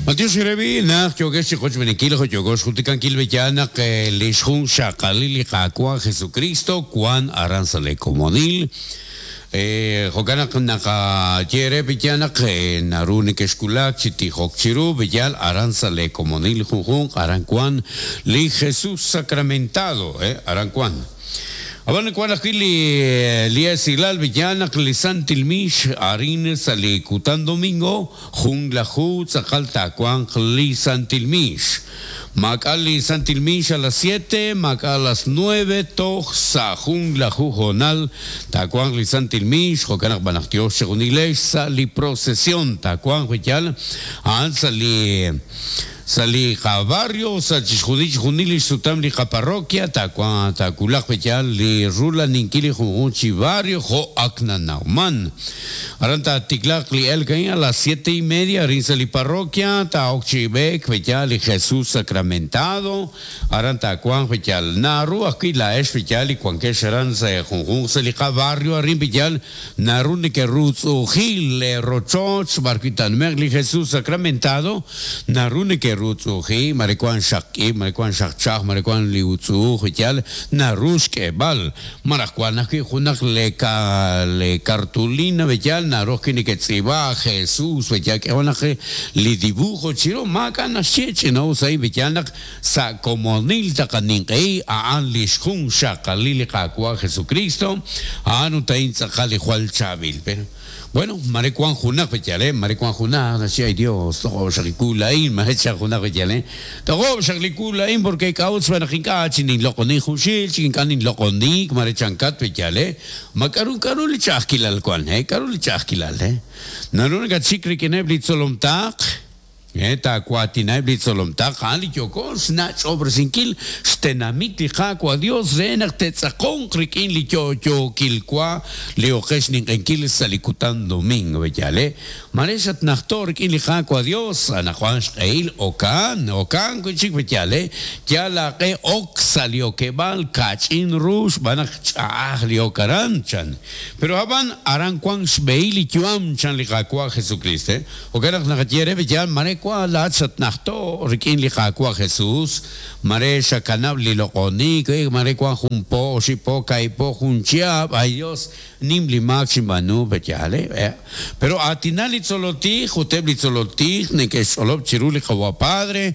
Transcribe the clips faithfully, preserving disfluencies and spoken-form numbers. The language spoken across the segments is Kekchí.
Matiox rebi naq yokex chi qochb'enikil jo yokox jultikankil b'eyal naq li xjun xaqalil li Qaawa' Jesucristo wan aran sa' le komonil. Eh, jo'kan naq naqaye re b'eyal naq naru nekexkulak chi tijok chiru b'eyal aran sa' le komonil junjunq aran wan li Jesús sacramentado, eh, aran wan. Aban wan ajwi' li li esilal b'eyal naq li Santil Mix arin sa' li kutan domingo jun laju tz'aqal taawanq li Santil Mix. Maak'a li Santil Mix a las siete, maak'a a las nueve, toj sa' jun laju honal taawanq li Santil Mix, jo'kan naq b'anaq Dios chejunilex sa' li procesión taawanq b'eyal a'an sa' li sa' li qabarrio sa' chixjunil chixjunil li xsutam li qaparroquia taawanq taakulaq b'eyal li rulaninkil li junjun chi barrio jo' ak nanawman. Aran taatiklaq li elk a las siete y media arin sa' li parroquia taa'ok chi b'eek b'eyal li Jesús sacramentado aran taawanq b'eyal naru ajwi' laa'ex b'eyal li wankex aran sa' junjun sa' li qabarrio arin b'eyal naru neke'rutz'u'jil le rochoch b'arwi' tanmeq li Jesús sacramentado naru neke'rutz'u'ji mare wan xaq k'ib' mare wan xaq chaj mare wan li utz'u'uj b'eyal naru xk'eeb'al maraj wan ajwi' junaq le ka le cartulina b'eyal naru ajwi' neke'tz'iib'a Jesús b'eyal k'ewan naq li dibujo chiru maak'a' naxye ch'inaw sa' b'eyal naq sa' komonil taqaninq'ehi a'an li xjun xaqalil li Qaawa' Jesucristo a'an ut a'in tz'aqal li jwal chaab'il. Pero bueno, mare wan junaq b'eyal, eh, mare wan junaq naxye ay Dios toq'ob' xaq li kulain mare chaq junaq b'eyal, eh, toq'ob' xaq li kulain porque k'a'ut xb'aan naq ink'a' chi ninloq'oni junxil chi ink'a' ninloq'onik mare chankat b'eyal, eh, ma k'aru k'aru li ch'a'ajkilal wan, eh, k'aru li ch'a'ajkilal, eh, naru nakatxik rik'ineb' li tzolomtaq, eh, taawatinaheb' li tzolomtaq a'an li yoko xnach'ob'resinkil xtenamit li Qaawa' Dios re naq te'tz'aqonq rik'in li yo'yookil wa li oqex ninq'enkil sa' li kutan domingo b'eyal, eh, mare xatnajto' rik'in li Qaawa' Dios anaqwan xq'ehil okan okan wi' chik b'eyal, eh, yal aq'e ok sa' li okeb'aal kach'in ru xb'aan naq ch'a'aj li ok aran chan. Pero ab'an aran wan xb'ehil li yu'am chan li Qaawa' Jesucristo, eh, jo'kan naq naqaye re b'eyal mare wa laat xatnajto' rik'in li Qaawa' Jesús mare xakanab' li loq'onik, eh, mare wan jun po oxib' po ka'ib' po jun chiab', ay Dios nim li maak xinb'aanu b'eyal, eh, pero aatinal li tzolotij ut eb' li tzolotij neke'xch'olob' chiru li Qawa' Padre,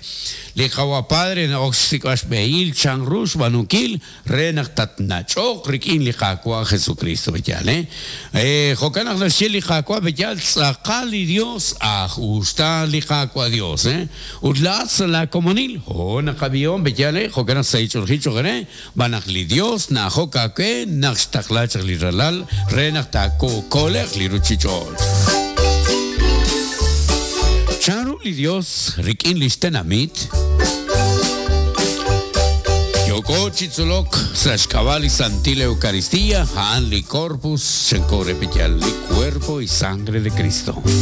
li Qawa' Padre na'ok xsik'b'al xb'ehil chan ru xb'aanunkil re naq tatnach'oq rik'in li Qaawa' Jesucristo b'eyal, eh, eh, jo'kan naq naxye li Qaawa' b'eyal tz'aqal li Dios aj uxta li Qaawa' Dios, eh, ut laat sa' la komonil ho naqab'ihom b'eyal, eh, jo'kan naq sa' ich'olji cho'q re b'an naq li Dios na'ajok aawe naq xtaqla chaq li ralal re naq taako'koleq li ruchich'och'. Chanru li Dios rik'in li xtenamit yoko chi tzolok sa' xk'ab'a' li Santil Eucaristía a'an li Corpus chanko re b'eyal li cuerpo y sangre de Cristo.